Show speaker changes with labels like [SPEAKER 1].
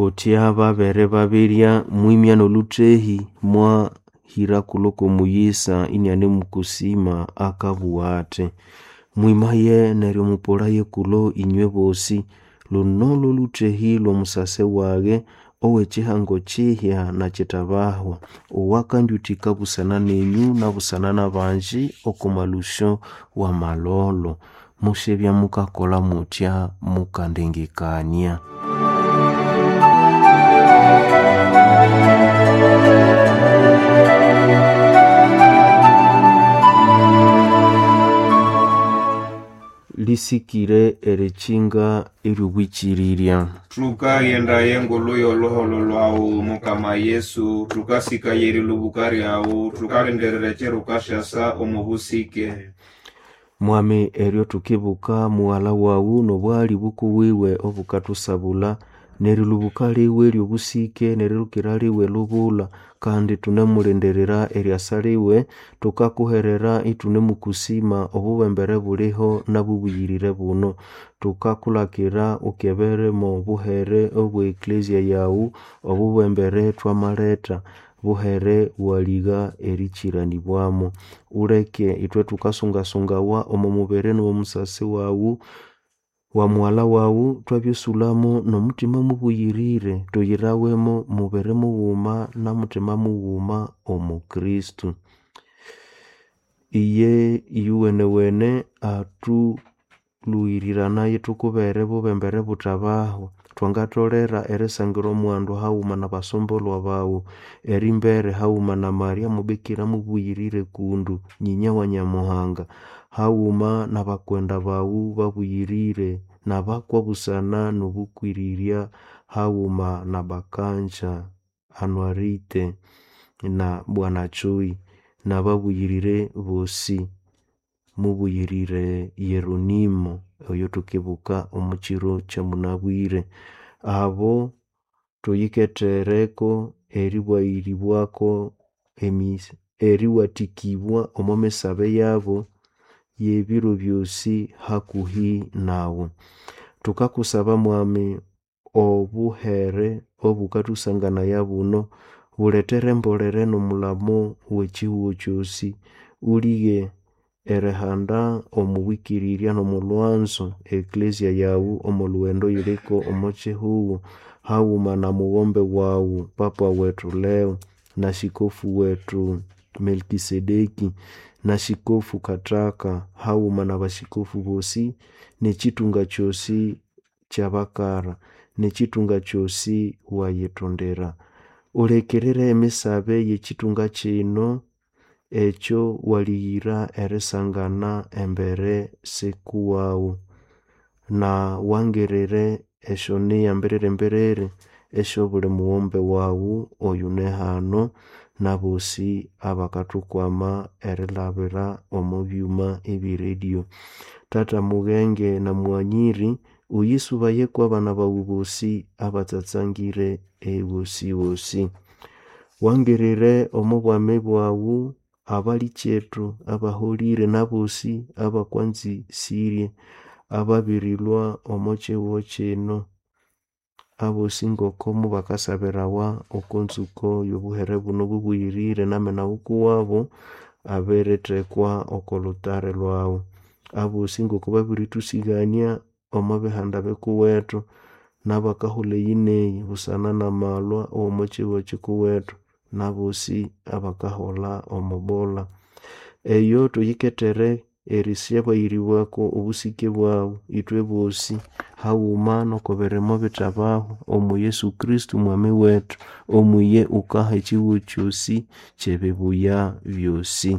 [SPEAKER 1] Kutya babere babirya mwimya n'olhuthehi mwahira kulo kw'omuyisa inianemukusima akabugha athi, mwimaye neryo mupolaye kulo inywe bosi, luno lw'olhuthehi lw'omusase wage ow'ekihango kihya na kitabahwa, owakandyuthika busana nenyu na busana n'abanji oko malusyo w'amalholo. Musyabya mukakolha mutya mukandengekania. Lisikire erikinga ery'obwikirirya.
[SPEAKER 2] Thukaghenda engulu y'olhuholho lhwawu Mukama Yesu, thukasikaya erilubuka lyawu, thukalindirira ekiro wukasyasa omo busike.
[SPEAKER 1] Mwami eryo thukibuka mughalha wawu n'obwali bukuwiwe obukathusabulha n'erilubuka liwe ery'obusike n'erilukira liwe lubulha kandi thunemulindirira eryasa liwe thukakuherera ithunemukusima obubembere buliho nabubuyirire buno. Thukakulhakira ukebere mo buhere obwe eklezia yawu obubembere thwamaletha buhere waligha erikiranibwamo. Uleke ithwe thukasungasungawa omo mubiri n'omo musasi wawu wa mughalha wawu thwabyasulhamo n'omuthima mubuyirire thuyirawemo mubiri mughuma na muthima mughuma omo Kristo. Iye iyuwenewene athulhuwiriranaye thukubere bubembere buthabahwa. Thwangatholera erisangira omughando haghuma n'abasombolwa bawu, erimbere haghuma na Maria mubikira mubuyirire kundu nyinya wa Nyamuhanga, haghuma n'abakwenda bawu babuyirire n'abakwa busana n'obukwirirya haghuma na Bakanja Anuarite na Bwana Chui n'ababuyirire bosi. Mubuyirire Yeronimo oyo thukibuka omo kiro kyamunabwire. Abo thuyikethereko eribwayiribwako eriwathikibwa omo misabe yabo y'ebiro byosi hakuhi nawu. Thukakusaba Mwami obuhere obukathusanganaya buno bulethere embolere n'omulamo w'ekihugho kyosi. Ulighe erihanda omo bwikirirya n'omo lhwanzo eklezia yawu omo lhughendo oyiliko omo kihugho haghuma na mughombe wawu Papa wethu Leo na Shikofu wethu Melkisedeki na Shikofu Kathaka haghuma n'abashikofu bosi n'ekitunga kyosi ky'abakara n'ekitunga kyosi wayithondera. Ulekerere emisabe y'ekitunga kino ekyo walighira erisangana embere sikuwawu na wangirire esyoniya mbiriri-mbiriri esyobuli mughombe wawu oyune hano n'abosi abakathukwama erilhabira omo byuma eby'eradio. Tata mughenge na mughanyiri uyisubaye kw'abana bawu bosi abatsatsangire ewosiwosi. Wangirire omo bwami bwawu abalikyethu abaholire n'abosi abakwanzisirye ababirilhwa omo kihugho kino abosi ngoko mubakasabirawa oko nzuko y'obuhere buno bubuyirire n'amena wukuwabo abirithekwa oko lhutare lhwawu. Abosi ngoko babirithusigania omo bihanda bikuwethu n'abakahulha eyi n'eyi busana n'amalhwa aw'omo kihugho kikuwethu n'abosi abakaholha omo bolha. Eyo thuyikethere erisyabayiribwako obusike bwawu ithwe bosi haghuma n'oko birimo bithabahwa omo Yesu Kristo Mwami wethu omwiye wukaha ekihugho kyosi ky'ebibuya byosi.